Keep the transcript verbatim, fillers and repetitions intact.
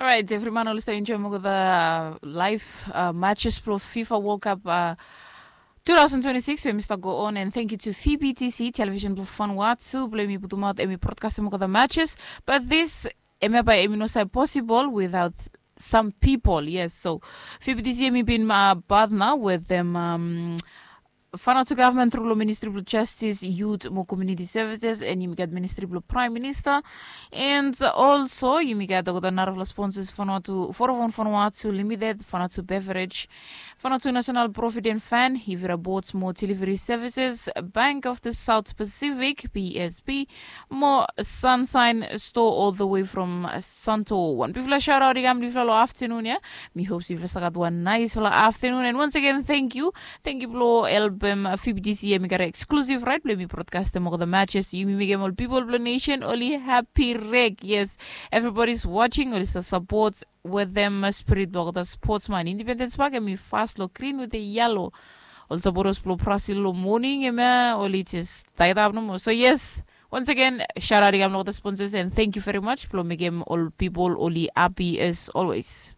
Alright, evri man oli stap enjoim olgeta live matches blong fifa world cup two thousand twenty-six we mi stap go on, and thank you to fbtc television blong fanua tu blong em i putumaot em i broadcastim olgeta matches. But this em ya bae em i no save possible without some people. Yes, so fbtc em i bin partner with them, um, Vanuatu government tru long ministri blong justice, youth mo community services, and yumi gat ministri blong prime minister. And also yumi gat olgeta narafala sponsors, Vanuatu Vodafone Vanuatu Limited, Vanuatu Beverage, Vanuatu National Provident Fund, Ivira Boards mo Delivery Services, Bank of the South Pacific, BSP, mo Sunshine Store all the way from Santo. Wan bigfala shout out i kam long yufala long afternoon ya. Mi hope yufala stap gat wan naisfala afternoon, and once again thank you. Thank you blong helpem fbtc em i gat exclusive right blong em i broadcastim olgeta matches. Yumi mekem ol people blong nation oli happy rek. Yes, everybody is watching, oli stap support wetem spirit blong olgeta sportsman. Independence Park em i fas long green wetem yellow. Ol supporters blong Brazil long morning em ya oli just tied up nomo. So yes, once again shout out i kam long olgeta sponsors, and thank you very much blong mekem ol people oli happy as always.